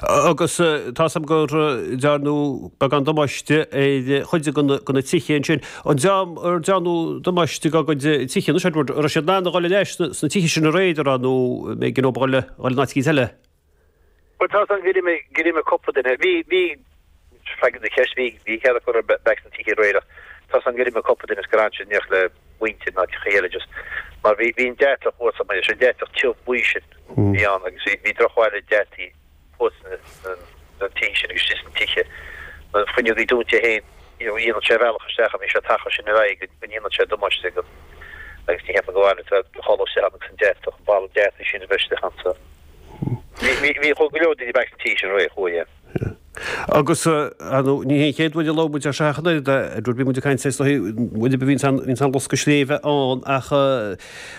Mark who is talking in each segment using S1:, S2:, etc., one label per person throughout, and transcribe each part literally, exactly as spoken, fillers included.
S1: Agus tá a fhios agam go ndearnadh beagán damáiste ar chuid de na tithe ansin. An dream ar dearnadh damáiste dá gcuid tithe anois, Edward, an raibh siad in ann a dhul ar ais sna tithe sin aréir, an raibh, nó an mbeidh orthu a dhul in áit eicínt eile?
S2: Bhuel, tá a fhios agam gur imigh, gur imigh cúpla duine. Bhí, bhí, freagra do cheist, bhí, bhí cead acu a bheith sna tithe aréir ach tá a fhios agam gur imigh cúpla duine is gur fhan siad in éineacht le muintir in áiteacha eile just mar bhí, bhí an deatach thuas, an deatach tiubh buí sin a bhí ann agus bhí, bhí drochbhail ag deataigh thuas sna tithe sin agus istigh sna tithe. Na fuinneogaí dúnta féin, you know, dhéanfadh sé a bhealach isteach an bhí sé ag teacht sin ar aghaidh go ndéanfadh sé damáiste go agus ní cheapaim go bhfaigheann tú do chodladh isteach ann agus an deatach, an balla deataigh sin a bheith isteach ann so. Bhí, bhí, bhí go leor daoine back sna tithe sin aréir, chuaigh, yeah.
S1: Agus, ar ndóigh, ní hé an chéad uair a labhair muid ar seo ach an oiread, Edward, bhí muid ag caint is dóigh, uair a bhíonn an loscadh sléibhe ann ach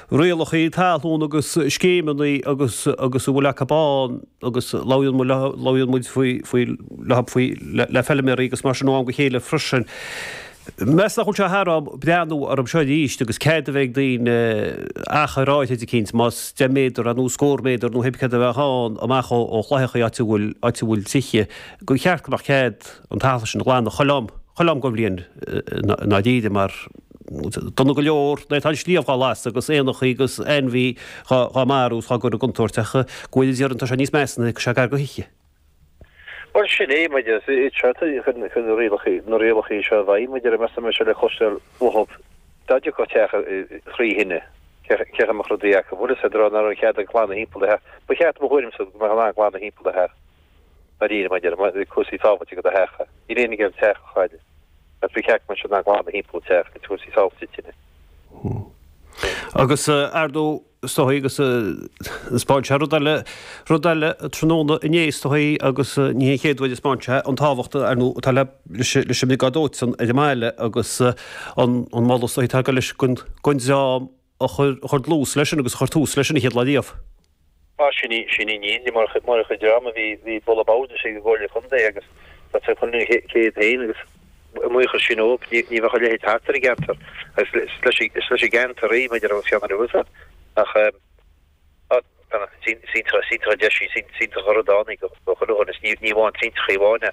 S1: rialacha talún agus scéimeanna agus agus a bhfuil acu ann agus labhraíonn muid labhraíonn muid faoi faoi faoi le feilméaraí agus mar sin ó am go chéile freisin. Meas nach bhfuil sé thar am breathnú orthu seo arís agus cead a bheith ag daoine achar áirithe eicínt, más deich méadar nó scór méadar nó pé céard a bheadh ann amach ó chlaitheachaí áit a bhfuil áit a bhfuil tithe, gur cheart go mbeadh cead an talamh sin a ghlanadh chuile am, chuile am den bhliain i ndáiríre mar dona go leor nuair atá an sliabh dhá lasadh agus éanachaí agus ainmhí dhá marú is dhá gcur i gcontúirt ach go bhfuil a déarfainn tá sé níos measa nuair atá sé gar do thithe.
S2: Bhuel, sin é, maidir is seo chun na rialacha na rialacha seo i bhfeidhm, maidir meas mé seo le cloisteáil uathu. Dá dtiocfadh teach trí thine, cé a mbeadh rudaí acu? Bhuel, is féidir nach raibh cead ag glanadh thimpeall do theach. Ba cheart, mo thuairimse, go mbeadh in ann glanadh thimpeall do theach. Dáiríre, maidir le cúrsaí sábháilte do do theach. Níl éinne ag iarraidh teach a chailleadh. Ach ba cheart go mbeadh siad in ann glanadh thimpeall an teach le cúrsaí sábháilte tine.
S1: Agus ar ndóigh, is dóigh agus thaispeáin sé rud eile, rud eile tráthnóna inné is dóigh agus ní hé an chéad uair a thaispeáin sé an tábhacht ar ndóigh atá le leis an mbriogáid dóiteáin ar an mbaile agus an an moladh is dóigh atá ag dul leis don don dream a chuir a chuir dlús leis sin agus a chuir tús leis sin an chéad lá riamh.
S2: Ah, sin í, sin í ní, mar mar a chuid dream a bhí, bhí bualadh bord ag an gComhairle Contae agus tá sé chun an chéad féin agus i mbuíochas sin ó, ní bheadh a leithéid thart ar an gceantar agus is leis is leis an gceantar í maidir agus ceann anuas ach iontach deis í, iontach an rud ann í go chuile dhuine, ní ní amháin tintreachaí amháin é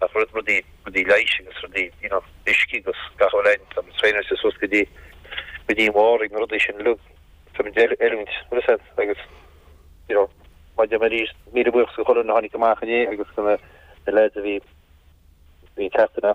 S2: ach rud rudaí rudaí leighis agus rudaí you know uisce agus gach uile rud tá muid traenáilte suas go dtí go dtí an bharr ag na rudaí sin uilig tá muid oiliúint agus you know maidir arís míle buíochas go chuile dhuine a tháinig amach inné agus go na na lads a bhí bhí teacht